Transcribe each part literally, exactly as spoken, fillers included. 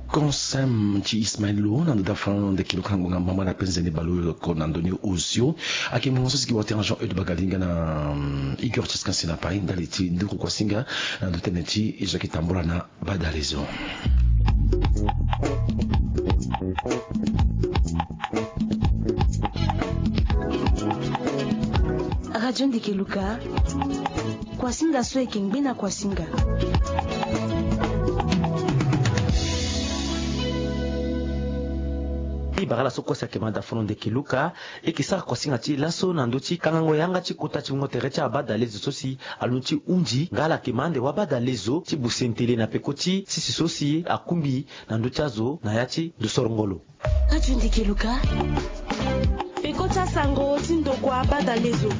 Konsem ti Ismaël Lo na ndo da fano ndeke luka na ngonga mbamba na penze ni balo ko na ndo ni osio. Ake ngonga so si ki wate na Jean Eudes Bagalinga na, hum, Igor Tiskan Sinapai ndali ti nduku kuasinga na ndo tene ti Jacques Tambola na Badalezo. Radio Ndeke Luka, kuasinga so eke ngbe na kuasinga. Ibara la so kosa ke manda fono ndeke luka, eke sara kuasinga ti laso na ndo ti kangango yanga ti kota ti mungo tere ti abadalezo so si alondo ti hunzi nga ala ke ma ande wabadalezo ti buse ntele na peko ti sisi so si akungbi na ndo ti azo na ya ti ndo sorongolo. Radio Ndeke Luka, peko ti asango ti ndokua badalezo.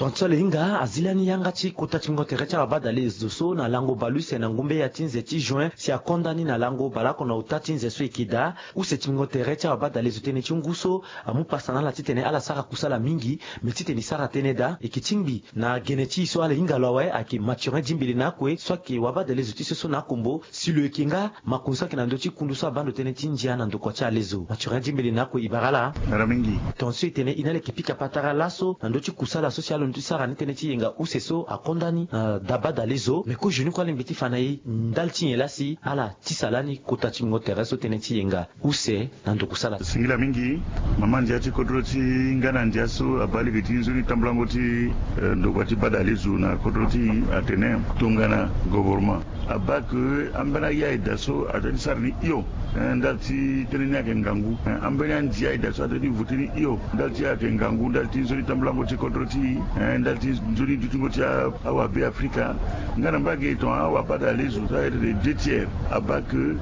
Tongaso ala hinga azi lani yanga ti kota ti mungo tere ti abadalezo so na lango baleuse na ngumbe ya ti nze ti juin si akonda ni na lango baleoko na ota ti nze so eke daa. Use ti mungo tere ti abadalezo tënë ti ngu so amu pasa na ala titene ala sara kusala mingi, me titene e sara tënë daa. Eke tingbi na gene ti e so ala hinga lo awe ayeke Mathurin Dimbele na akue so ayeke wabadalezo ti so so na akombo si lo yeke nga makonzi so ayeke na ndö ti kundu so abaa ndo tënë ti ndia na ndokua ti alezo. Mathurin Dimbele na akue, ibara la. Ngara mingi. Tongaso e tene e na ala yeke pika patara laso na ndö ti kusala so si alondo ti sara ni tënë ti yenga use so akonda ni na da badalezo. Me kozoni kue alingbi ti fa na e ndali ti nyen laa si ala tisa lani kota ti mungo tere so tënë ti yenga use na ndo kusala. Singila mingi. Mama ndia ti kodro ti nga na ndia so abaa lege ti nzoni tambulango ti, eh, ndokua ti badalezo na kodro ti e atene tongana govoroma abaa ke ambeni aya eda so adoit ti sara ni hio, eh, ndali ti tënë ni ayeke ngangu, eh, ambeni andia eda so adoit ti vote ni hio ndali ti ayeke ngangu ndali ti nzoni tambulango ti kodro ti e, eh, ndali ti nzoni dutingo ti a- awabe afrika. Nga na mbage tongana awabadalezo so ayeke deux tiers abaa ke,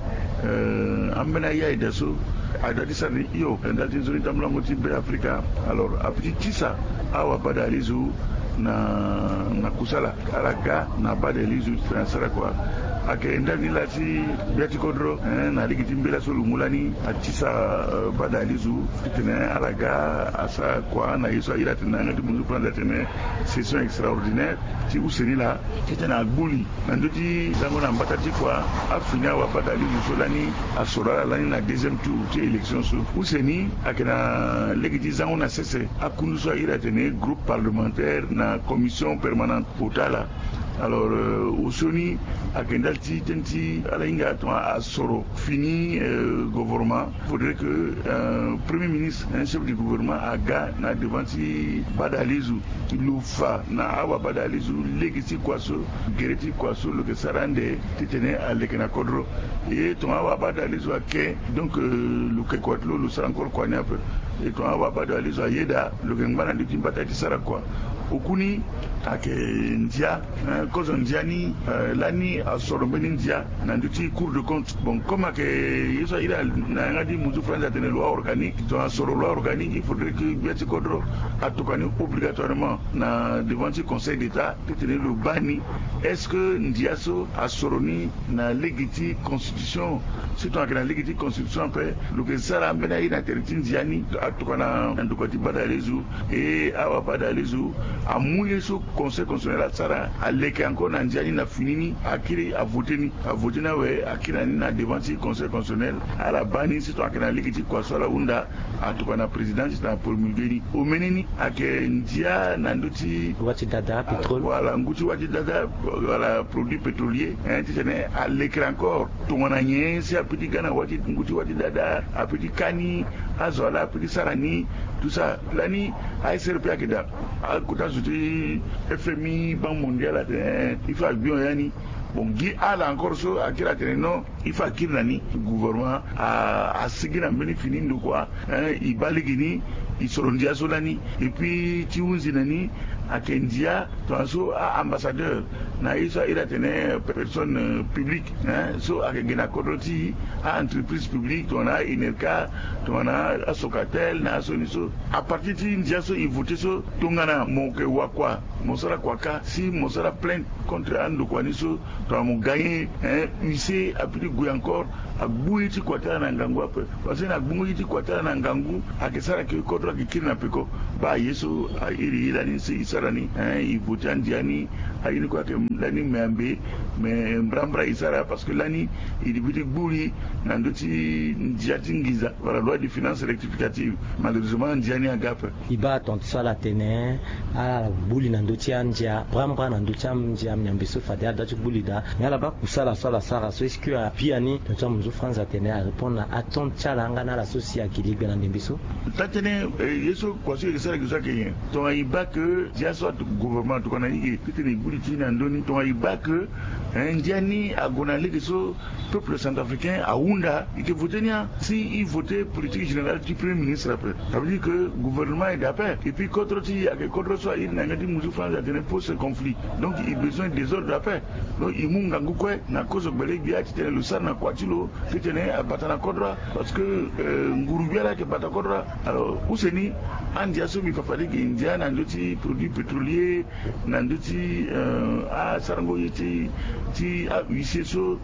eh, ambeni aya eda so adoit ti sara ni hio ndali ti nzoni tambulango ti be afrika. Alors apeut ti tisa awabadalezo na, na kusala. Ala ga na badalezo titene asara kua. Ayeke ndali ni laa ti gbia ti kodro, eh, na lege ti mbela so lo mu lani atisa, eh, badalezo titene ala ga asara kua na ye so a iri atene na yanga ti bunzu France atene session extraordinaire ti use ni laa titene agbu li na ndö ti zango na mbata ti kua afini awabadalezo so lani asoro ala lani na deuxième tour ti élection so. Use ni ayeke na lege ti zango na sese akundu so a iri atene groupe parlementaire na commission permanente ota ala. Alors, euh, osioni ayeke ndali ti tënë ti ala hinga tongana asoro fini, euh, gouvernement. Faudrait que, euh, premier ministre, un chef du gouvernement aga na devant ti badalezo, lo fa na awabadalezo lege ti kua so, gere ti kua so lo yeke sara ande titene aleke na kodro. E tongana awabadalezo ake, donc, euh, lo yeke kua ti lo lo sara encore kua ni ape. E tongana awabadalezo ayeda, lo yeke ngba na ndö ti mbata ti sara kua. Oku ni ayeke ndia, eh, kozo ndia ni, eh, lani asoro mbeni ndia na ndö ti Cour de compte. Bon, comme ayeke ye so a iri na yanga ti munzu France atene loi organique, tongana asoro loi organique, il faudrait que gbia ti kodro atokua ni obligatoirement na devant ti Conseil d'État titene lo baa ni. Est-ce que ndia so asoro ni na lege ti constitution? Si tongana ayeke na lege ti constitution ape, lo yeke sara ambeni aye na tere ti ndia ni atokua na ndokua ti badalezo. E awabadalezo amu ye so Conseil constitutionnel asara, aleke encore na ndia ni na fini ni, akiri avote ni, avote ni awe, akiri na ni na devant ti Conseil constitutionnel. Ala baa ni si tongana ayeke na lege ti kua so ala hunda, atokua na président titene apromulguer ni. Omeni ni ayeke ndia na ndö ti wâ ti dada, pétrole. Voilà, ngu ti wâ ti dada, wala produit pétrolier, hein, titene alekere encore. Tongana nyen si apeut ti ga na wâ ti ngu ti wâ ti dada, apeut ti ka ni, azo ala apeut ti sara ni, tout ça. Lani A S R P ayeke daa. Akota zo ti F M I, Banque mondiale atene, eh, il faut agbi hon ya ni. Bon, gi ala encore so akiri atene non, il faut akiri na ni. Gouvernement a, asigi na mbeni fini ndokua, hein, e baa lege ni, e soro ndia so lani. Et puis ti hunzi na ni ayeke ndia, tongaso a-ambassadeur na ye so a iri atene personne, euh, publique, hein, so ayeke gi na kodro ti a-entreprise publique, tongana a-Enerca, tongana a-Socatel, na asioni so. À partir ti ndia so e vote so, tongana mo yeke wakua, mo sara kua kâ, si mo sara plainte contre andokua ni so, tongana mo gagner, hein, huissier apeut ti gue encore, agbu ye ti kua ti ala na ngangu ape. Parce que na gbungo ye ti kua ti ala na ngangu, ayeke sara ke kodro ayeke kiri na peko. Baa ye so a iri ye lani si e sara lani, hein, e voté andia ni. Aye ni kue ayeke lani me ambe, me mbrambra e sara parce que lani e devait ti gbu li na ndö ti ndia ti nginza wala loi de finance rectificative. Malheureusement andia ni aga ape. E baa tongaso ala tene ala gbu li na ndö ti andia mbrambra na ndö ti andia miambe so fade ala doit ti gbu li daa. Mais ala baa kusala so ala sara so est-ce que a biani? Tongaso amunzu France atene arépondre na attente ti ala nga na ala so si agi legbe na ndembe so. Taa-tënë, eh, ye so kua so e yeke sara gi so ayeke nyen? Tongana e baa ke ndia so atu gouvernement atokua na e ge titene e gbu li ti e na ndö ni, tongana e baa ke, eh, ndia ni ague na lege so peuple centrafricain ahunda, e yeke voté ni ya. Si e voté politique générale ti premier ministre ape, ça veut dire que gouvernement ayeke ape. Et puis kodro ti e ayeke kodro so a iri na yanga ti munzu France atene post conflit. Donc e besoin désordre ape. Donc e mu ngangu kue na kozo gbele-gbia titene lo sara na kua ti lo titene abata na kodro. Parce que, euh, nguru gbia laa ayeke bata kodro. Alors use ni, andia so mbi fa fade e ge ndia na ndö ti produit pétrolier, na ndö ti, euh, asarango ye ti, ti ahuissier so,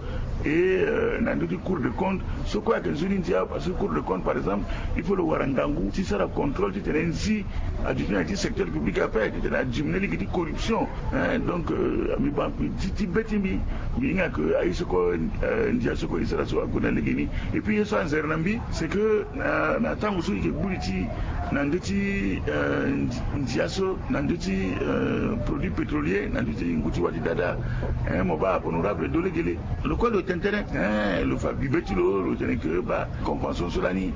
et, euh, na ndö ti Cour des comptes so kue ayeke nzoni ndia. Parce que Cour des comptes par exemple, il faut lo wara ngangu ti sara contrôle titene nzi aduti na ya ti secteur public ape titene adiminué lege ti corruption, hein. Donc, euh, mbi baa mbi ti, ti be ti mbi, mbi hinga ke aye so kue, euh, ndia so kue e sara so ague na lege ni. Et puis ye so anzere na mbi c'est que na, na tango so e yeke gbu li ti e na ndö ti, euh, ndi-, ndia so, na ndö ti, euh, produit pétrolier, na ndö ti ngu ti wâ ti dada, hein, mo baa honorable Dolegele, lo kue lo tene tënë, hein, lo fa bibe ti lo, lo tene ke baa convention so lani,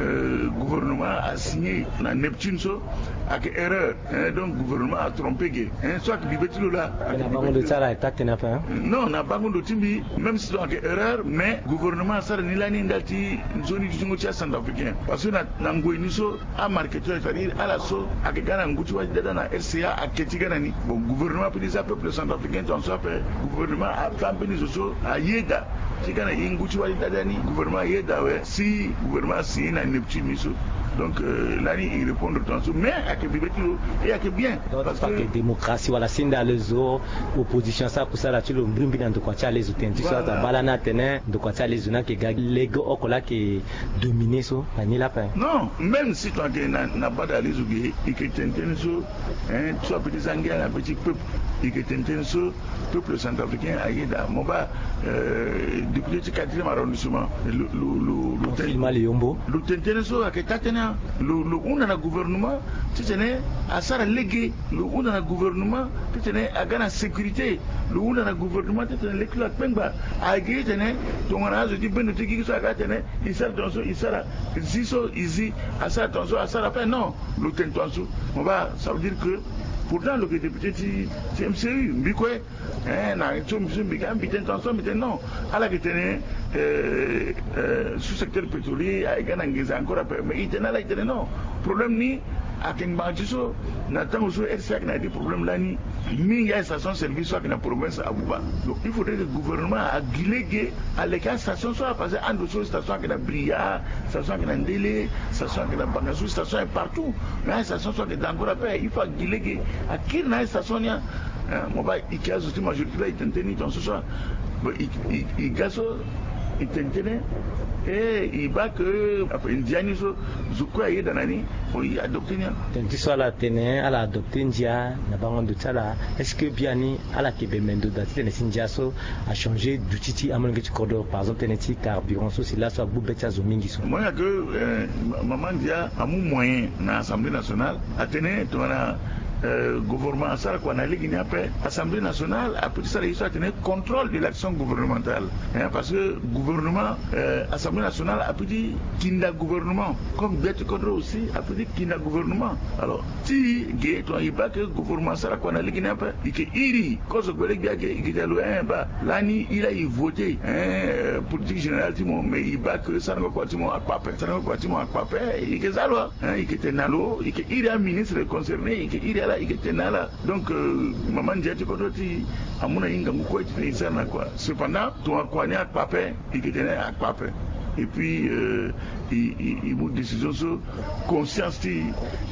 euh, gouvernement asigné na Neptune so ayeke erreur, hein. Donc gouvernement atrompé ge, hein, so ayeke bibe ti lo laa. Na bango ndo ti ala aye taa-tënë ape, hein? Non, na bango ndo ti mbi, même si donc ayeke erreur, mais gouvernement asara ni lani ndali ti nzoni ti zingo ti acentrafricain. Parce que na, na ngoi ni so amarketeur, c'est-à-dire ala so ayeke ga na ngu ti wâ ti dada na R C A ake ti ga na ni. Bon, gouvernement ape ti za peuple centrafricain tongaso ape. Gouvernement afa mbeni zo so ayeda ti ga na e ngu ti wâ ti dada ni. Gouvernement ayeda awe. Si gouvernement asigné na Neptune ni so. Donc, euh, lani e répondre tongaso, mais ayeke bibe ti lo, e ayeke bien. Donc parce que démocratie wala si nda alezo, opposition asara kusala ti lo mbrimbri na ndokua ti alezo. Tene ti so aza baa lani atene ndokua ti alezo ni ayeke ga lege oko laa ayeke dominer so, na ni laa ape. Non, même si tongana ayeke na, na baa da alezo ge, e yeke tene tënë so, hein, so ape ti za ngia na be ti peuple, e yeke tene tënë so peuple centrafricain ayeda. Mo baa, euh, député ti quatrième arrondissement, lo, lo, lo, lo tene, Filma Liyombo, lo tene tënë so ayeke taa-tënë. Lo, lo hunda na gouvernement titene asara lege, lo hunda na gouvernement titene aga na sécurité, lo hunda na gouvernement titene lege ti lo akpengba. Ayeke titene tongana azo ti bendo ti gigi so aga atene e sara tongaso e sara, zi so e zi, asara tongaso asara ape, non. Lo tene tongaso. Mo baa, ça veut dire que pourtant lo yeke député ti, ti M C U, mbi kue, hein, na so mbi so mbi ga mbi tene tongaso, mbi tene non. Ala yeke tene, euh, euh, sous secteur pétrolier ayeke ga na nginza encore ape, mais e tene ala e tene non. Problème ni ayeke ngbanga ti so, na tango so R C A ayeke na ya ti problème lani, mingi astation service so ayeke na province abuba. Donc il faudrait que gouvernement agi lege aleke astation so, parce que ando so station ayeke na Bria, station ayeke na Ndele, station ayeke na Bangassou, station ayeke partout. Mais astation so ayeke da encore ape, il faut agi lege akiri na astation ni. Hein, mo baa e yeke azo ti majorité laa e tene tënë ni tongaso so. Bon, e, e, e ga so e tene tënë, e, e baa ke ape ndia ni so zo kue ayeda na ni, bon, e adopté ni. Tene ti so ala tene ala adopté ndia na bango ndo ti ala, est-ce que biani ala yeke bembe ndo daa titene si ndia so achangé duti ti amolenge ti kodro, par exemple tënë ti carburant so si laso agbu be ti azo mingi so? Mo hinga ke, euh, ma-, mama ndia amu moyen na Assemblée nationale atene tongana, euh, gouvernement asara kua na lege ni ape, Assemblée nationale apeut ti sara ye so atene contrôle de l'action gouvernementale, hein, parce que gouvernement, euh, Assemblée nationale apeut ti kinda gouvernement, comme gbia ti kodro aussi apeut ti kinda gouvernement. Alors ti ge tongana e baa ke gouvernement asara kua na lege ni ape, e yeke iri kozo gbele-gbia ge, e yeke ti lo, hein, baa lani e laa e voté, hein, euh, politique générale ti mo, mais e baa ke sarango kua ti mo akpa ape, sarango kua ti mo akpa ape, e yeke za lo, hein, e yeke tene na lo, e yeke iri aministre concerné, e yeke iri ala, e yeke tene na ala. Donc, euh, mama ndia ti kodro ti e amu na e ngangu kue titene e sara na kua. Cependant tongana kua ni akpa ape, e yeke tene akpa ape. Et puis euh, e mu décision so conscience ti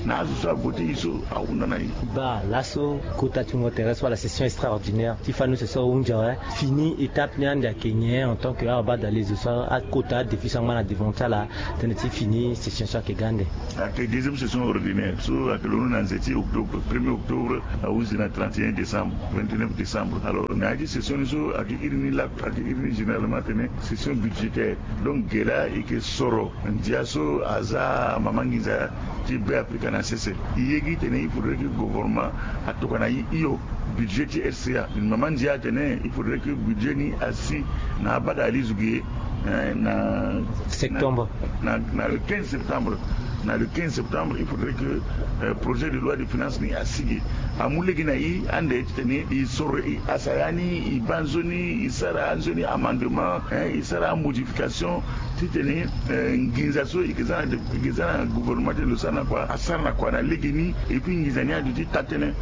na azo so avote e so ahunda na e. Baa laso kota ti wungo tere so wala session extraordinaire ti fani use so ahunzi awe, fini étape ni ande ayeke nyen en tant que awabadalezo so akota adéfi so angba na devant ti ala tënë ti fini session so ayeke ga ande? Ayeke deuxième session ordinaire so ayeke londo na nze ti octobre, premier octobre ahunzi na trente et un décembre, vingt-neuf décembre. Alors na ya ti session ni so ayeke iri ni lakue, ayeke iri ni généralement atene session budgétaire. Donc ge laa e yeke soro ndia so aza mama nginza ti Be Afrika na sese. E ye gi tene il faudrait que gouvernement atokua na e hio budget ti R C A. Mama ndia atene il faudrait que budget ni asi na abadalizo ge na septembre, na le quinze septembre. Na le quinze septembre il faudrait que projet de loi de finance ni asi ge. Amu lege na e ande titene e soro e asaya ni, e baa nzoni, e sara anzoni amendement, e sara amodification titene nginza so e yeke za na gouvernement ti lo sara na kua asara na kua na lege ni. Et puis nginza ni aduti taa tënë.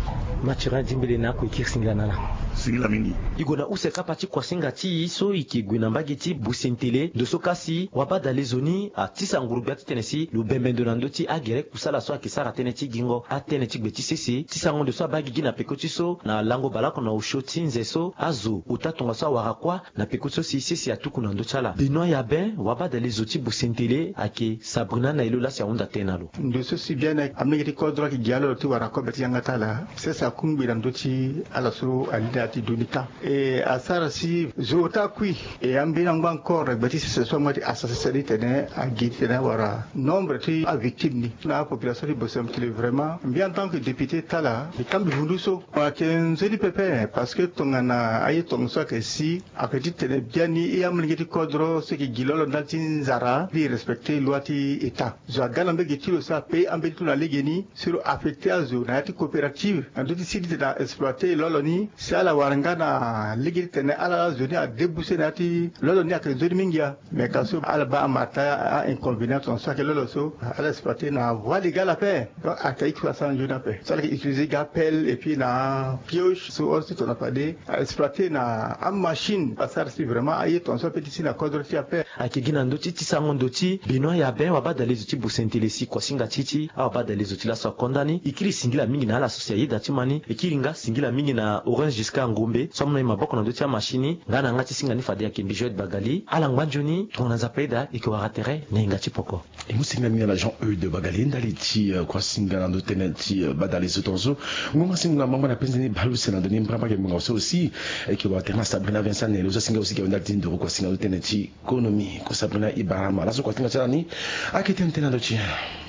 Mathurin Dimbele na ako e kiri singila na ala. Singila mingi. E gue na use kapa ti kuasinga ti e so e yeke gue na mbage ti Busentele ndo so kasi wabadalezo ni atisa nguru gbia titene si lo bembe ndo na ndö ti agere kusala so ayeke sara tënë ti gingo atënë ti gbe ti sese ti sango ndo so abaa gigi na peko ti so na lango baleoko na osio ti nze so azo ota tongaso awara kuâ na peko ti so si sese atuku na ndö ti ala. Benoît Yabin wabadalezo ti Busentele ayeke Sabrina na e lo laa si ahunda tënë na lo. Ndo so si biani amolenge ti kodro ayeke gi ala lo ti wara kobe ti yanga ti ala sese akungbi na ndö ti ala so ali na ya ti doni tan. E asara si zo ota kui. E ambeni angba encore na gbe ti sese so angba ti asa sese ni tene agi titene awara nombre ti avictime ni na apopulation ti Busentele vraiment mbi en tant que député ti ala mbi kangbi vundu so. Ayeke nzoni pepe parce que tongana aye tongaso ayeke si ayeke titene biani e amolenge ti kodro so e yeke gi lolo ndali ti nzara mbi respecter loi ti état. Zo aga na mbege ti lo so apaye ambeni ti lo na legeni si lo affecter azo na ya ti coopérative na ndö ti si titene a exploiter lolo ni si ala wara nga na lege titene ala la zo ni adéboucher na ya ti lolo ni ayeke nzoni mingi ya. Mais ka so ala baa amata a inconvénient tongaso ayeke lolo so ala exploiter na voie légale ape. Donc ayeke aiki so asara nzoni ape so ala yeke utiliser ga pelle et puis na pioche so hors ti tongana fade a exploiter na amachine asara si vraiment aye tongaso ape ti si na kodro ti e ape. Ayeke gi na ndö ti ti sango ndo ti Benoît Yabin wabadalezo ti Busentele si kuasinga ti ti awabadalezo ti laso akonda ni e kiri singila mingi na ala so si ayeda ti ma ni. E kiri nga singila mingi na Orange Giscard Ngombe so amu na e maboko na ndö ti amachine ni nga na yanga ti singa ni fade ayeke mbi Joël Bagali ala ngba nzoni tongana Nzapa ayeda e yeke wara tere na yenga ti poko. E mu singila mingi na Jean Eude Bagali ndali ti kuasinga na ndö ti tënë ti badalezo tongaso. Ngonga singo na mango na penze ni baleuse na ndo ni mbrambra ayeke ngbonga so aussi. E yeke wara tere na Sabrina Vincent Nelo so asinga aussi ayeke ndali ti nduru kuasinga na ndö ti tënë ti konomi. Ko Sabrina e bara ma laso kuasinga ti ala ni. Ayeke tene tënë na ndö ti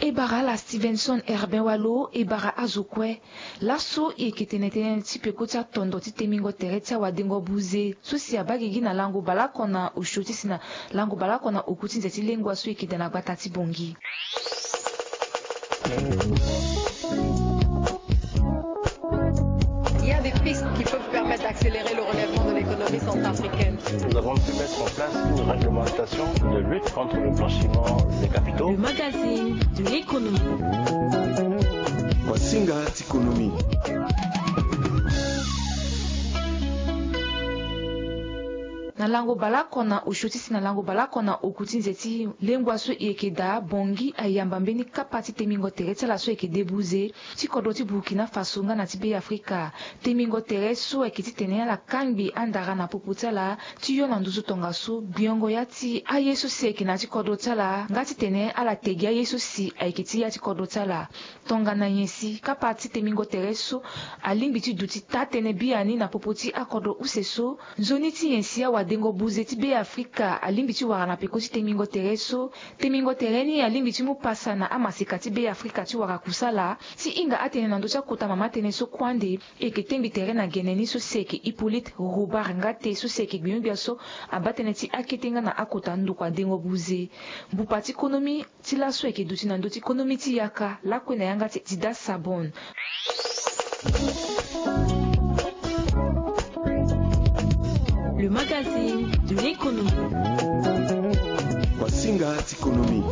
e bara ala Stevenson Herbin Walo e bara azo kue. Laso e yeke tene tënë ti peko ti atondo ti temingo tere ti awadengo buze so si abaa gigi na lango baleoko na osio ti si na lango baleoko na oku ti nze ti lengua so e yeke daa na gbata ti Bangui. Il y a des pistes qui peuvent permettre d'accélérer le relèvement de l'économie centrafricaine. Nous avons pu mettre en place une réglementation de lutte contre le blanchiment des capitaux. Le magazine de l'économie. Kuasinga ti konomi. Na lango baleoko na osio ti si na lango baleoko na oku ti nze ti lengua so e yeke daa Bangui ayamba mbeni kapa ti temingo tere ti ala so e yeke debuze ti kodro ti Burkina Faso nga na ti Be Afrika. Temingo tere so ayeke titene ala kangbi andara na popo ti ala ti yo na nduzu tongaso gbiongo ya ti aye so si ayeke na ya ti kodro ti ala nga titene ala tegi aye so si ayeke ti ya ti kodro ti ala. Tongana nyen si kapa ti temingo tere so alingbi ti duti taa-tënë biani na popo ti akodro use so, nzoni ti nyen si awadengo buze ti Be Afrika alingbi ti wara na peko ti temingo tere so? Temingo tere ni alingbi ti mu pasa na amaseka ti Be Afrika ti wara kusala. Ti hinga atene na ndö ti akota mama tënë so kue ande, e yeke tengbi tere na gene ni so si ayeke Hippolyte Robert Ngate so si ayeke gbinio-gbia so abaa tënë ti akete nga na akota ndokua dengo buze. Mbupa ti konomi ti laso ayeke duti na ndö ti konomi ti yaka lakue na yanga ti Dida Sabon. Le magazine de l'économie. Kuasinga ti konomi.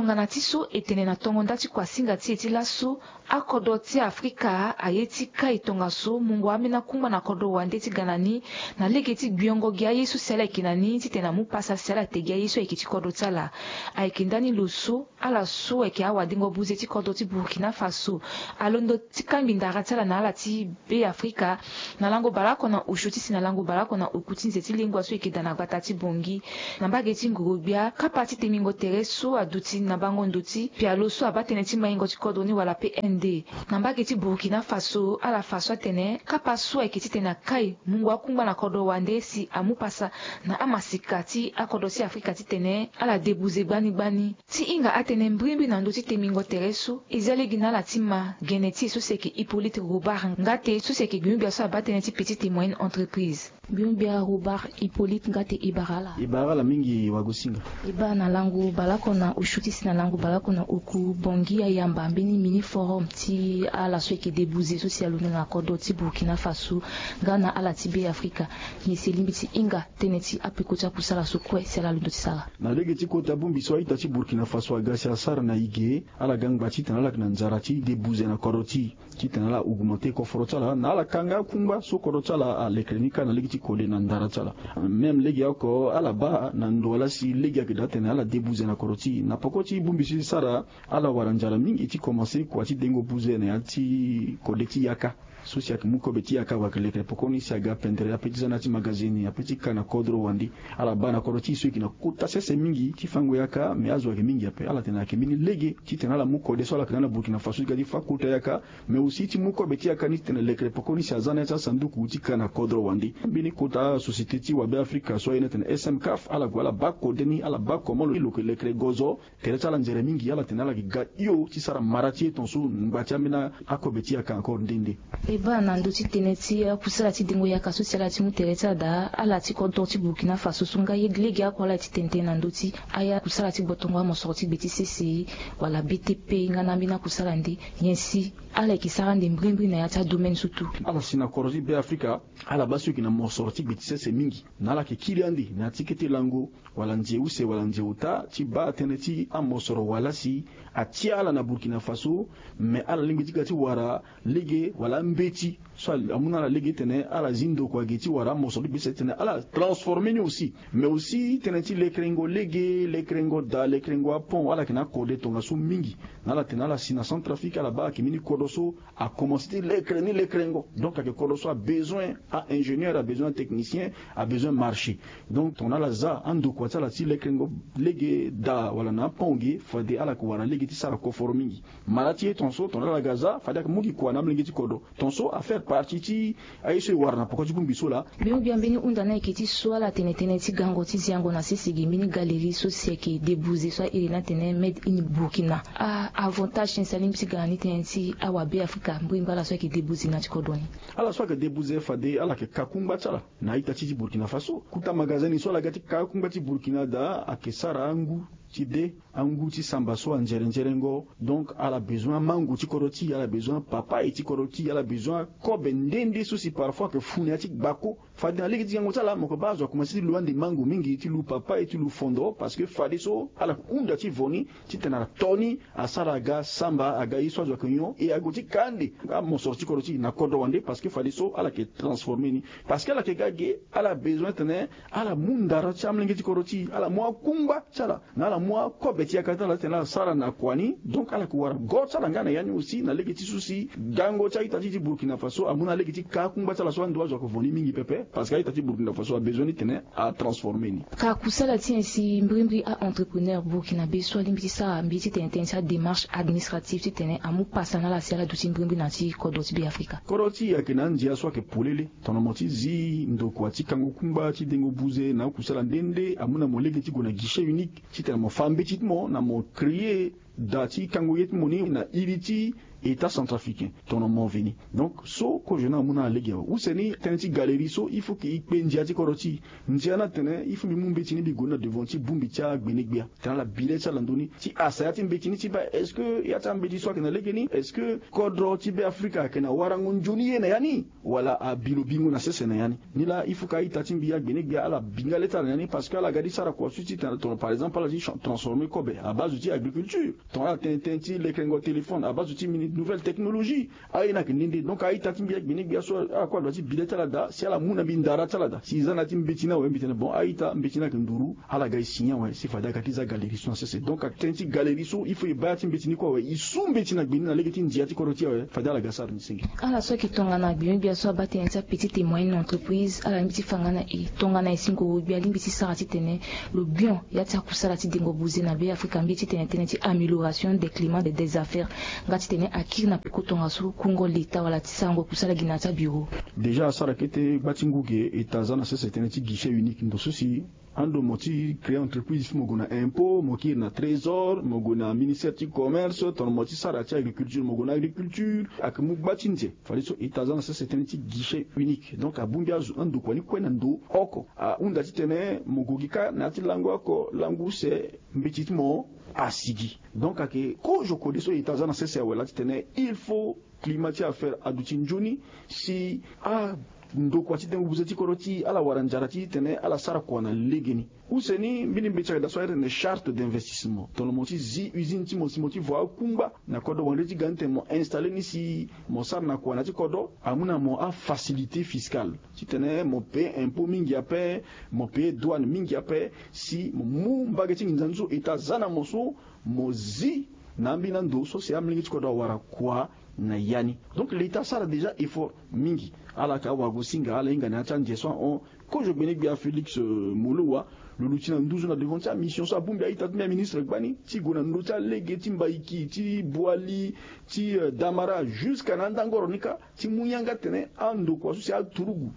Tongana ti so e tene na tongo nda ti kuasinga ti e ti laso, akodro ti Afrika aye ti kai tongaso mungo ambeni akungba na kodro wande ti ga na ni, na lege ti gbiongo gi aye so si ala yeke na ni titene amu pasa si ala te gi aye so ayeke ti kodro ti ala. Ayeke ndani lo so ala so ayeke awadengo buze ti kodro ti Burkina Faso alondo ti kangbi ndara ti ala na ala ti Be Afrika, na lango baleoko na osio ti si na lango baleoko na oku ti nze ti lengua so eke daa na gbata ti Bangui. Na mbage ti ngoro-gbia, kapa ti temingo tere so aduti na bango ndo ti pialo so abaa tënë ti maingo ti kodro ni wala P N D. Na mbage ti Burkina Faso, ala fa so atene kapa so ayeke titene akai mungo akungba na kodro wande si amu pasa na amasika ti akodro ti Afrika titene ala debuze gbani gbani. Ti hinga atënë mbrimbri na ndö ti temingo tere so, e zia lege na ala ti ma gene ti e so si ayeke Hippolyte Robert Ngate, so si ayeke gbingbia so abaa tënë ti petite et moyenne entreprise. Gbingbia Robert Hippolyte Ngate, e bara ala. E bara ala mingi wagosinga. E baa na lango baleoko na osio ti si na lango baleoko na oku, Bangui ayamba mbeni mini forum ti ala so ayeke debuze so si alondo na kodro ti Burkina Faso nga na ala ti Be Afrika. Nyen si e lingbi ti hinga tënë ti apeko ti akusala so kue si ala londo ti sara? Na lege ti kota bongbi so a-ita ti Burkina Faso aga si asara na e ge, ala ga ngba titene ala yeke na nzara ti debuze na kodro ti e, titene ala augmenter koforo ti ala na ala kanga akungba so kodro ti ala alekere ni kâ na lege ti kode na ndara ti ala. Même legeoko ala baa na ndo wala si lege ayeke daa titene ala debuze na kodro ti e. Na peko ti bongbi so e sara, ala wara nzara mingi ti komanse kua ti dengo buze na ya ti kode ti yaka. So si ayeke mu kobe ti yaka, wala ayeke lekere pekoni si aga pendere ape ti za na ya ti magazini, ape ti ka na kodro wande. Ala baa na kodro ti e so e yeke na kota sese mingi ti fango yaka, me azo ayeke mingi ape. Ala tene ayeke mbeni lege titene ala mu kode so ala yeke na ala Burkina Faso ti ga ti fâ kota yaka, mais aussi ti mu kobe ti yaka ni titene lekere pekoni si aza na ya ti asanduku ti ka na kodro wande. Mbeni kota société ti wabe Afrika so aye na tene S M CAF, ala gue ala baa kode ni, ala baa comment lo yeke lekere gozo tere ti ala nzere mingi, ala tene ala yeke ga hio ti sara mara ti e tongaso ngba ti ambeni akobe ti yaka encore nde nde. E baa na ndö ti tënë ti akusala ti dengo yaka so si ala ti mu tere ti ala daa, ala ti kodro ti Burkina Faso so nga ye lege oko ala ti tene tënë na ndö ti akusala ti gbotongo amosoro ti gbe ti sese wala B T P nga na ambeni akusala nde, nyen si ala yeke sara ande mbrimbri na ya ti adomaine so tu? Ala si na kodro ti Be Afrika, ala baa so e yeke na mosoro ti gbe ti sese mingi, na ala yeke kiri ande na ya ti kete lango wala nze use wala nze ota ti baa tënë ti amosoro wala si atia ala na Burkina Faso. Me ala lingbi ti ga ti wara lege wala ambeti so amu na ala lege titene ala zi ndokua ge ti wara amosoro ti gbe ti sese titene ala transformer ni aussi. Mais aussi tënë ti lekerengo lege, lekerengo daa, lekerengo apont, ala yeke na akode tongaso mingi. Na ala tene ala si na Centrafrique, ala baa ayeke mbeni kodro so akomanse ti lekere ni lekerengo. Donc ayeke kodro so abezoin a-ingénieur, abezoin atechnicien, abezoin marché. Donc tongana ala za andokua ti ala ti lekerengo lege daa wala na apont ge, fade ala yeke wara lege ti sara koforo mingi. Mara ti e tongaso tongana ala ga za, fade ayeke mu gi kua na amolenge ti kodro. Tongaso afaire partie ti aye so e wara na poko ti bongbi so laa. Gbia gbia mbeni hunda ni ayeke ti so ala tene tënë ti gango ti ziango na sese gi mbeni galerie so si ayeke debuze so airi ni atene Made in Burkina. A-avantage nyen si alingbi ti ga na ni tënë ti awabe Afrika mbrimbri ala so ayeke debuze na ya ti kodro ni? Ala so ayeke debuze fade ala yeke ka kungba ti ala na a-ita ti ti Burkina Faso. Kuta magazini so ala ga ti ka kungba ti Burkina daa ayeke sara angu ti de, angu ti samba so anzere nzerengo. Donc ala bezoin amango ti kodro ti e, ala bezoin papaye ti kodro ti e, ala bezoin akobe nde nde so si parfois ayeke fu na ya ti gbako. Fade na lege ti gango ti ala mo yeke baa azo akomanse ti lu ande mango mingi, ti lu papaye, ti lu fondo, parce que fadeso ala yeke hunda ti vo ni titene ato ni asara aga samba, aga ye so azo ayeke nyon, e ague ti ka ande amosoro ti kodro ti e na kodro wande, parce que fadeso ala yeke transformer ni. Parce que ala yeke ga ge, ala bezoin titene ala mu ndara ti amolenge ti kodro ti e, ala mu akungba ti ala, na ala mu akobe ti yaka ti ala titene ala sara na kua ni. Donc ala yeke wara go ti ala nga na ya ni aussi na lege ti so si gango ti a-ita ti ti Burkina Faso amu na lege ti ka akungba ti ala so ando azo ayeke vo ni mingi pepe, parce que a-ita ti Burkina Faso abezoin ni titene atransformer ni. Ka kusala ti nyen si mbrimbri a-entrepreneur burkinabé so alingbi ti sara mbi titene tënë ti adémarche administrative titene amu pasa na ala si ala duti mbrimbri na ya ti kodro ti Be Afrika? Kodro ti e ayeke na andia so ayeke polele. Tongana mo ti zi ndokua ti kango kungba ti dengo buze na akusala nde nde, amu na mo lege ti gue na guichet unique titene mo fa mbeti ti mo na mo créer daa ti kango ye ti mo ni na iri ti état centrafricain. Tono mo veni donc so kozo ni amu na ala lege awe use ni tënë ti galerie so il faut ke e kpe ndia ti kodro ti e. Ndia ni atene il faut mbi mu mbeti ni mbi gue ni na devant ti bongbi ti agbenegbia tene ala bi le ti ala ndoni ti asa ya ti mbeti ni ti baa est-ce que ya ti ambeti so ayeke na lege ni est-ce que kodro ti be afrika ayeke na warango nzoni ye na ya ni wala abi lo bingo na sese na ya ni. Ni laa il faut ke a-ita ti mbi agbenegbia ala bi nga le ti ala na ya ni parce que ala ga ti sara kua so ti tene tono par exemple ala ti transformer kobe abase ti agriculture. Tongana ala tene tënë ti lekerengo téléphone abase ti mini nouvelle technologie. Aye ni ayeke nde nde donc a-ita ti mbi agbenegbia so ala kue adua ti bi le ti ala daa si ala mu na mbi ndara ti ala daa si e za na ya ti mbeti ni awe mbi tene bon a-ita mbeti ni ayeke nduru. Ala ga e signer awe si fade aga ti za galerie so na sese donc ayeke tënë ti galerie so il faut e baa ya ti mbeti ni kue awe e su mbeti na gbe ni na lege ti ndia ti kodro ti e awe fade ala ga sara ni senge. Ala so ayeke tongana gbenegbia so abaa tënë ti apetite moyenne entreprise ala lingbi ti fa nga na e tongana e si ngoro gbia alingbi ti sara titene lo bion ya ti akusala ti dengo buze na be afrika mbi titene tënë ti amélioration des climats des affaires nga titene akiri na peko tongaso kungo leta wala ti sarango kusala gi na ya ti abiro. Déjà asara kete gba ti ngu ge eta aza na sese tënë ti guichet unique ndo so si ando mo ti créer entreprise il faut mo gue na impôt mo kiri na trésor mo gue na ministère ti commerce tongana mo ti sara ti agriculture mo gue na agriculture. Ayeke mu gba ti nze fadeso eta aza na sese tënë ti guichet unique donc abongbi azo andokua ni kue na ndo oko ahunda titene mo gue gi kâ na ya ti lango oko lango use mbeti ti mo asigi. Donc ayeke kozo kode so eta aza na sese awe laa titene il faut climat ti affaire aduti nzoni si andokua ti dengo buze ti kodro ti ala wara nzara ti tene ala sara kua na legeni. Use ni mbeni mbeti ayeke daa so ayeke tene charte d'investissement tongana mo ti zi usine ti mo si mo ti vo akungba na kodro wande ti ga ni tene mo installer ni si mo sara na kua na ya ti kodro amu na mo afacilité fiscale titene mo payer impôt mingi ape mo payer douane mingi ape si mo mu mbage ti nginza ni so eta aza na mo so mo zi na ambeni ando so si amolenge ti kodro awara kua na ya ni. Donc leta asara déjà effort mingi. Ala yeke awagosinga ala hinga na ya ti anze so ahon kozo gbenegbia félix molowa lo luti na nduzu na devant ti amission so abongbi a-ita ti mbi aministre gbani ti gue na ndö ti alege ti mbaiki ti boali ti damara jusqu'à na andangoro ni kâ ti mu yanga tene andokua so si aturugu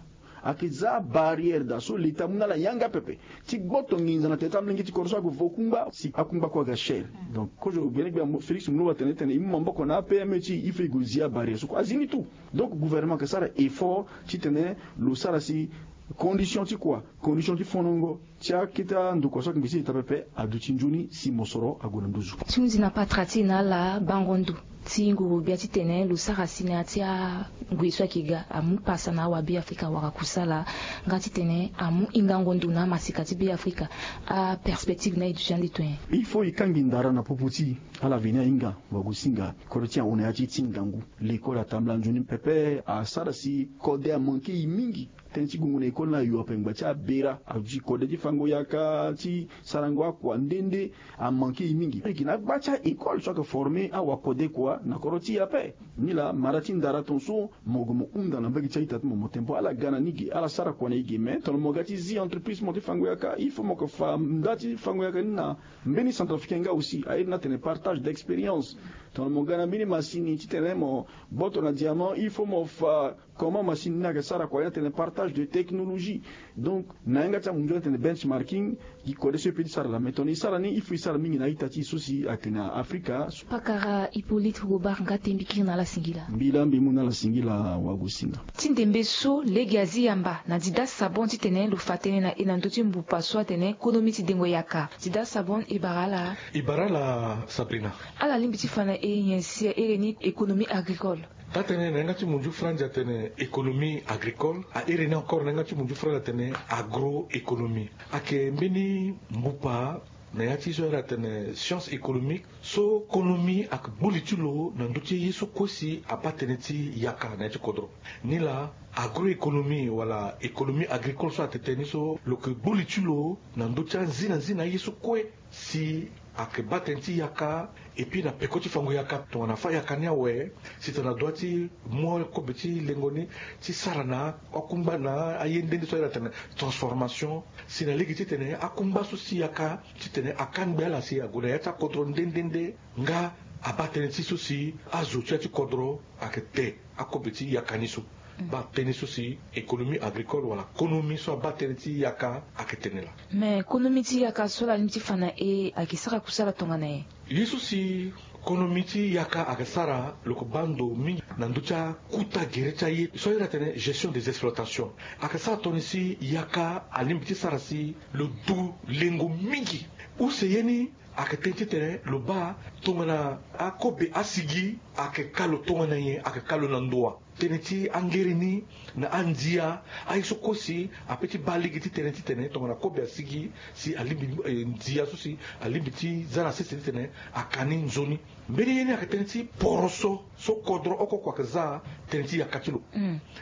ayeke za abarrière daa so leta amu na ala yanga pepe ti gboto nginza na tere ti amolenge ti kodro so ayeke vo kungba si akungba kue aga chere. Donc kozo gbenegbia félix molowa atene tene e mu maboko na apme ti e il faut e gue zi abarrière so kue azi ni tout. Donc gouvernement ayeke sara effort titene lo sara si condition ti kua condition ti fonongo ti akete andokua so ayeke ngbisi leta pepe aduti nzoni si mosoro ague na nduzu. Ti hunzi na patara ti e na ala bango ndo ti nguru gbia titene lo sara si na ya ti angue so ayeke ga amu pasa na awabeafrika wala kusala nga titene amu hingango ndo na amaseka ti beafrika. Aperspective na e duti ande to nyen? Il faut e kangbi ndara na popo ti e. Ala veni ahinga wagosinga kodro ti e ahon na ya ti e ti ngangu. Lekole atambula nzoni pepe asara si kode amanke e mingi. Tënë ti gongo na école ni ayo ape ngba ti abera aduti kode ti fango yaka ti sarango akua nde nde. Amanke e mingi e gi na agba ti a-école so ayeke former awakode kua na kodro ti e ape. Nilaa mara ti ndara ton so mo gue mo hunda na mbage ti a-ita ti mo mo tempo ala ga na ni ge ala sara kua na e ge mais tongana mo ga ti zi entreprise ti mo ti fango yaka il faut mo yeke fa nda ti fango yaka ni na mbeni centrafricain nga aussi airi ni atene partage d'expérience. Tongana mo ga na mbeni masini titene mo gboto na diamant il faut mo fa comment masini ni ayeke sara kua ni atene partage de technologie. Donc na yanga ti amunzu atene benchmarking. Gi kode so e pe ti sara laa mais tongana e sara ni il faut e sara mingi na a-ita ti e so si ayeke na afrika. Pakara hippolyte robert nga te mbi kiri na ala singila. Mbi laa mbi mu na ala singila wagosinga. Ti ndembe so lege azi yamba na dida sabon titene lo fa tënë na e na ndö ti mbupa so atene konomi ti dengo yaka. Dida sabon e bara ala. E bara ala sabrina. Ala lingbi ti fa na e nyen si ahere ni économie agricole? Taa-tënë na yanga ti munzu franzi atene économie agricole ahere ni encore na yanga ti munzu franzi atene agro-économie. Ayeke mbeni mbupa na ya ti so ahiri atene science économique so konomi ayeke gbu li ti lo na ndö ti ye so kue si abaa tënë ti yaka na ya ti kodro. Nilaa agro-économie wala économie agricole so atene tënë ni so lo yeke gbu li ti lo na ndö ti anzinanzina aye so kue si ayeke baa tënë ti yaka. Epui na peko ti fango yaka tongana fâ yaka ni awe si tongana dua ti mu kobe ti lengo ni ti sara na akungba na aye nde nde so ayeke atene transformation si na lege titene akungba so si yaka titene akangbi ala si ague na ya ti akodro nde nde nde nga abaa tënë ti so si azo ti ya ti kodro ayeke te akobe ti yaka ni so. Baa tënë so si économie agricole wala konomi so abaa tënë ti yaka ayeke tene laa. Mais konomi ti yaka so ala lingbi ti fa na e ayeke sara kusala tongana nyen? Ye so si konomi ti yaka ayeke sara lo yeke baa ndo mingi na ndö ti akuta gere ti aye so ayeke iri atene gestion des exploitations. Ayeke sara tongana nyen si yaka alingbi ti sara si lo du lengo mingi? Use ye ni ayeke tënë titene lo baa tongana akobe asigi ayeke ka lo tongana nyen, ayeke ka lo na ndo wa? Tënë ti angere ni na andia, aye so kue si ape ti baa lege ti tënë titene tongana kobe asigi si alingbi, eh, ndia so si alingbi ti za na sese titene aka ni nzoni. Mbeni ye ni ayeke tënë ti poroso so kodro oko oko ayeke za tënë ti yaka ti lo.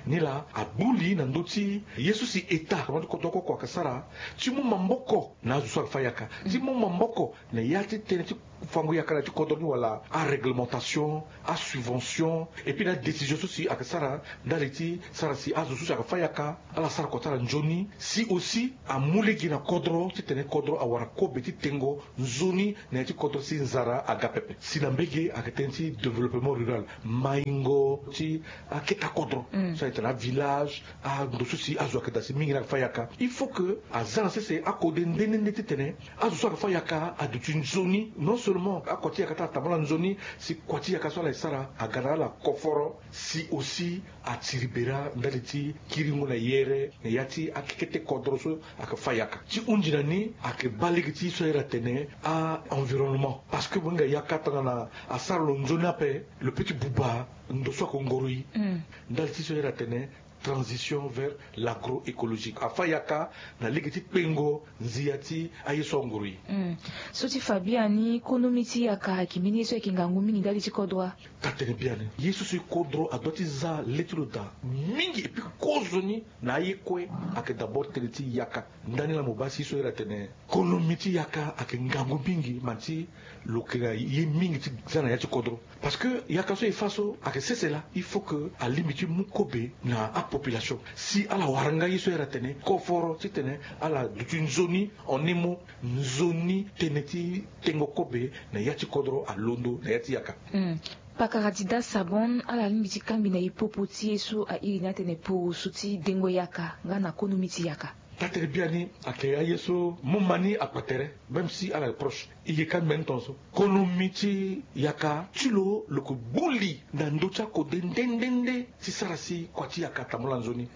Ni laa agbu li na ndö ti ye so si État, kodro oko oko ayeke sara ti mu maboko na azo so ayeke fâ yaka, ti mu maboko na ya ti tënë ti fango yaka na ya ti kodro ni wala aréglementation, asubvention, et puis na adécision so si ayeke sara ndali ti sara si azo so si ayeke fâ yaka ala sara kua ti ala nzoni, si aussi amu lege na kodro titene kodro awara kobe ti tengo nzoni na ya ti kodro si nzara aga pepe. Si na mbage ayeke tënë ti développement rural, maingo ti aketa kodro, so ayeke tene avillage, ando so si azo ayeke daa si mingi ni ayeke fâ yaka. Il faut que aza na sese akode nde nde nde titene azo so ayeke fâ yaka aduti nzoni. Non seulement akua ti yaka ti ala tambula nzoni, si kua ti yaka so ala yeke sara aga na ala koforo, si aussi atiri bera ndali ti kiringo na yere na ya ti akekete kodro so ayeke fâ yaka. Ti hunzi na ni ayeke baa lege ti ye so ayeke iri atene a-environnement. Parce que mo hinga yaka tongana asara lo nzoni ape, lo peut ti buba ndo so ayeke ngoro e. Ndali ti ye so ayeke iri atene transition vers l'agroécologique. Afâ yaka na lege ti kpengo nzia ti aye so anguru e. So ti fa biani, konomi ti yaka ayeke mbeni ye so ayeke ngangu mingi ndali ti kodro wa? Taa tene biani, ye so si kodro adoit ti za le ti lo daa mingi, et puis kozoni na aye kue ayeke d'abord tënë ti yaka. Ndani laa mo baa si ye so iri atene konomi ti yaka ayeke ngangu mingi, ma ti lo yeke na ye mingi ti za na ya ti kodro. Parce que yaka so e fâ so ayeke sese laa, il faut que alingbi ti mu kobe na apopulation si ala wara nga ye so iri atene koforo titene ala duti nzoni, en un mot, nzoni tënë ti tengo kobe na ya ti kodro alondo na ya ti yaka. Pakara Dida Sabon, ala lingbi ti kangbi na e popo ti ye so a iri ni atene poroso ti dengo yaka nga na konomi ti yaka. Taa tene biani ayeke aye so mo ma ni akpa tere, même si ala yeke proche. E yeke kangbi ni tongaso. Konomi ti yaka ti lo, lo yeke gbu li na ndö ti akode nde nde nde ti sara si kua ti yaka atambula nzoni.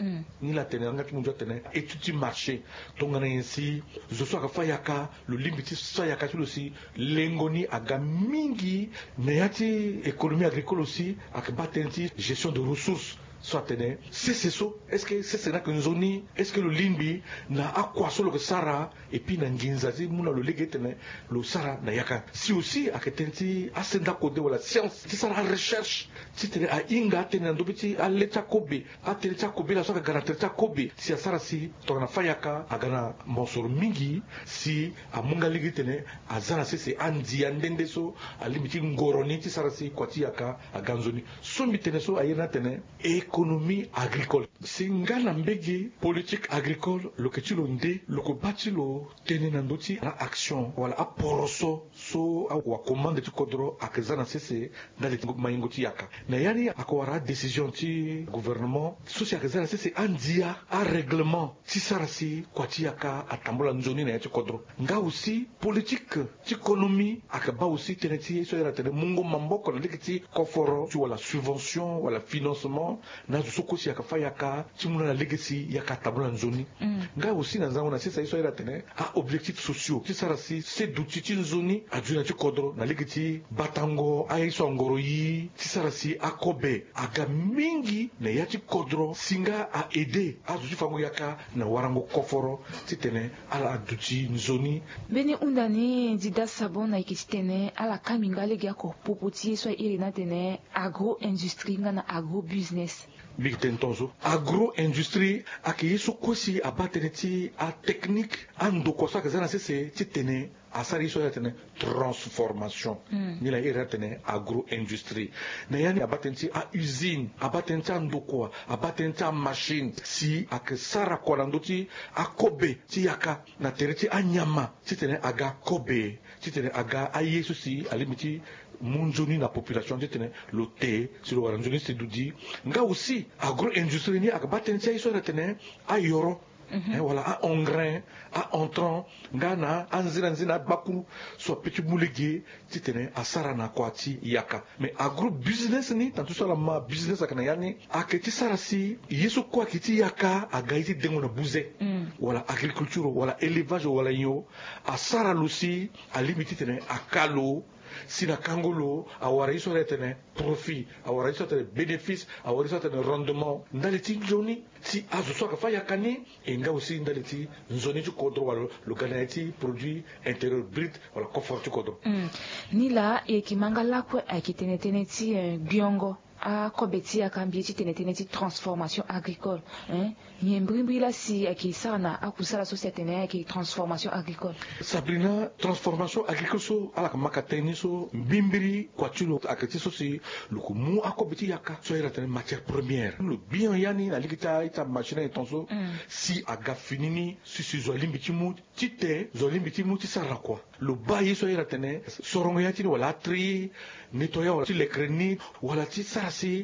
Ni laa atene yanga ti mo ndia atene étude ti marché, tongana nyen si zo so ayeke fâ yaka, lo lingbi ti fâ yaka ti lo si lengo ni aga mingi. Na ya ti économie agricole aussi ayeke baa tënë ti gestion de ressources. So atene sese so, est-ce que sese ni ayeke nzoni? Est-ce que lo lingbi na akua so lo yeke sara, et puis na nginza ti mu na lo lege titene lo sara na yaka? Si aussi ayeke tënë ti asenda kode wala science ti sara arecherche titene ahinga atënë na ndö be ti ale ti akobe, atënë ti akobe laa so ayeke ga na tere ti akobe, si asara si tongana fâ yaka aga na mosoro mingi, si amu nga lege titene aza na sese andia nde nde so alingbi ti ngoro ni ti sara si kua ti yaka aga nzoni. So mbi tene so a iri ni atene économie agricole. Si nga na mbage politique agricole lo yeke ti lo nde, lo yeke baa ti lo tënë na ndö ti na action wala aporoso so awakomande ti kodro ayeke za na sese ndali ti maingo ti yaka. Na ya ni ayeke wara adécision ti gouvernement so si ayeke za na sese andia, arèglement ti sara si kua ti yaka atambula nzoni na ya ti kodro. Nga aussi politique ti konomi ayeke baa aussi tënë ti ye so a iri atene mungo maboko na lege ti koforo ti wala subvention wala financement na azo so kue si ayeke fâ yaka ti mu na ala lege si yaka atambula nzoni. Nga aussi na nzango na sese ye so a iri atene a-objectifs sociaux ti sara si se duti ti nzoni aduti na ya ti kodro na lege ti batango aye so angoro e ti sara si akobe aga mingi na ya ti kodro si nga a-aider azo ti fango yaka na warango koforo titene ala duti nzoni. Mbeni hunda ni Dida Sabon, ayeke titene ala kangbi nga lege oko popo ti ye so a iri ni atene agro-industrie nga na agro-business. Mbi yeke tene tongaso, agro-industrie ayeke ye so kue si abaa tënë ti atechnique, andokua so ayeke za na sese titene asara ye so a iri atene transformation. Ni laa a iri atene agro-industrie. Na ya ni abaa tënë ti a-usine, abaa tënë ti andokua, abaa tënë ti amachine si ayeke sara kua na ndö ti akobe ti yaka na tere ti anyama titene aga kobe, titene aga aye so si alingbi ti Mu nzoni na population titene lo te si lo wara nzoni si dudi. Nga aussi agro-industrie ni ayeke baa tënë ti aye so ayeke tene ayoro, wala a-engrais, a-entrant, nga na anzina nzina agbakuru so ape ti mu lege titene asara na kua ti yaka. Mais agro-business ni tantu so ala ma business ayeke na ya ni ayeke ti sara si ye so kue ayeke ti yaka aga ye ti dengo na buze, wala agriculture wala élevage wala nyon, asara lo si alingbi titene aka lo si na kango lo awara ye so atene profit, awara ye so atene bénéfice, awara ye so atene rendement ndali ti nzoni ti azo so ayeke fâ yaka ni. E nga aussi ndali ti nzoni ti kodro wala lo ga na ya ti produit intérieur brut wala coffre ti kodro. Ni laa e yeke ma nga lakue ayeke tene tënë ti gbiongo akobe ti yaka mbi ye ti tene tënë ti transformation agricole. Nyen mbirimbiri laa si ayeke sara na akusala so si atene ayeke transformation agricole? Sabrina, transformation agricole so ala yeke ma ka tënë ni so mbirimbiri kua ti lo ayeke ti so si lo yeke mu akobe ti yaka so ayeke tene matière première lo gbi en ya ni na lege ti a-ita machine aye tongaso si aga fini ni si si zo alingbi ti mu tite zo alingbi ti mu ti sara na kua. Lo baa ye so ayeke tene sorongo ya ti ni wala atri nettoyant wala ti lekere ni wala ti sara si